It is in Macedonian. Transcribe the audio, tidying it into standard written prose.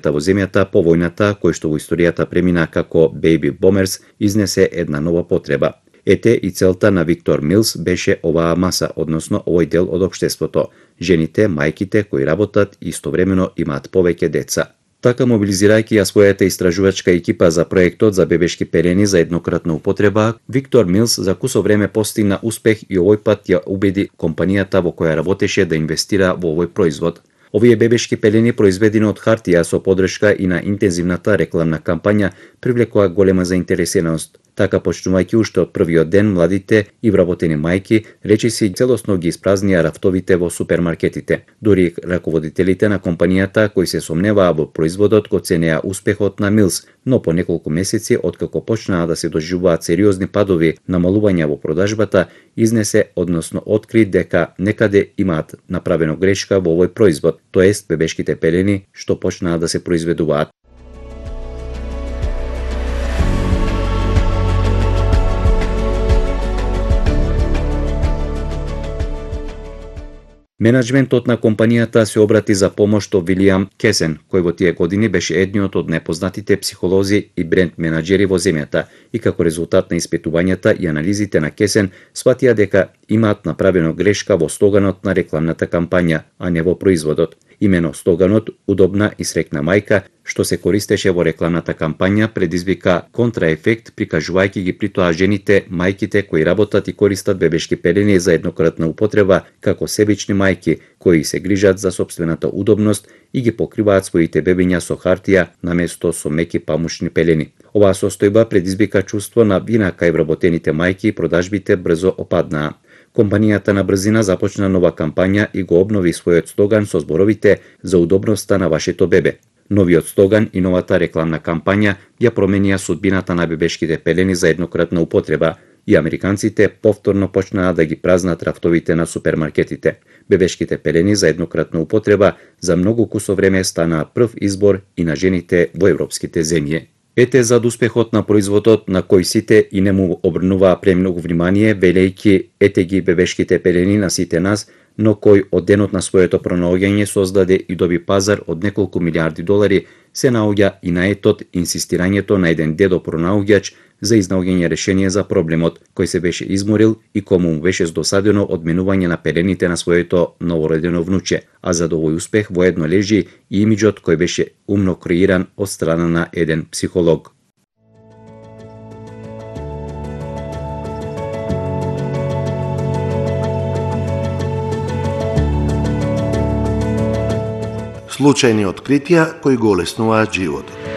во земјата по војната, кој што во историјата премина како Baby Bombers, изнесе една нова потреба. Ете и целта на Виктор Милс беше оваа маса, односно овој дел од општеството. Жените, мајките кои работат и истовремено имаат повеќе деца. Така, мобилизирајќи ја својата истражувачка екипа за проектот за бебешки пелени за еднократна употреба, Виктор Милс за кусо време постигна успех и овој пат ја убеди компанијата во која работеше да инвестира во овој производ. Овие бебешки пелени, произведени од хартија со подршка и на интензивната рекламна кампања, привлекоа голема заинтересираност. Така, почнувајќи уште од првиот ден, младите и вработени мајки речиси целосно ги испразнија рафтовите во супермаркетите. Дури раководителите на компанијата кои се сомневаа во производот го ценеа успехот на Милс, но по неколку месеци откако почнаа да се доживуваат сериозни падови, намалувања во продажбата, изнесе, односно откри дека некаде имаат направено грешка во овој производ, тоест бебешките пелени што почнаа да се произведуваат. Менаџментот на компанијата се обрати за помош до Вилијам Кесен, кој во тие години беше едниот од непознатите психолози и бренд менаџери во земјата, и како резултат на испитувањата и анализите на Кесен, сватија дека имаат направено грешка во слоганот на рекламната кампања, а не во производот. Имено слоганот "Удобна и срекна мајка", што се користеше во рекламната кампања, предизвика контраефект, прикажувајќи ги при тоа жените, мајките кои работат и користат бебешки пелени за еднократна употреба како себични мајки кои се грижат за сопствената удобност и ги покриваат своите бебиња со хартија наместо со меки памушни пелени. Оваа состојба предизвика чувство на вина кај вработените мајки и продажбите брзо опаднаа. Компанијата на брзина започна нова кампања и го обнови својот слоган со зборовите "За удобноста на вашето бебе". Новиот слоган и новата рекламна кампања ја променија судбината на бебешките пелени за еднократна употреба и американците повторно почнаа да ги празнат рафтовите на супермаркетите. Бебешките пелени за еднократна употреба за многу кусо време станаа прв избор и на жените во европските земји. Ете зад успехот на производот на кој сите и не му обрнуваа премногу внимание, велејќи "Ете ги бебешките пелени на сите нас", но кој од денот на своето пронаоѓање создаде и доби пазар од неколку милиарди долари, се наоѓа и наетот инсистирањето на еден дедо пронаоѓач за изнаоѓање решение за проблемот, кој се беше изморил и кому му беше здосадено од менување на пелените на своето новородено внуче, а за овој успех воедно лежи и имиџот кој беше умно креиран од страна на еден психолог. Случајни откритија кои го олеснуваат животот.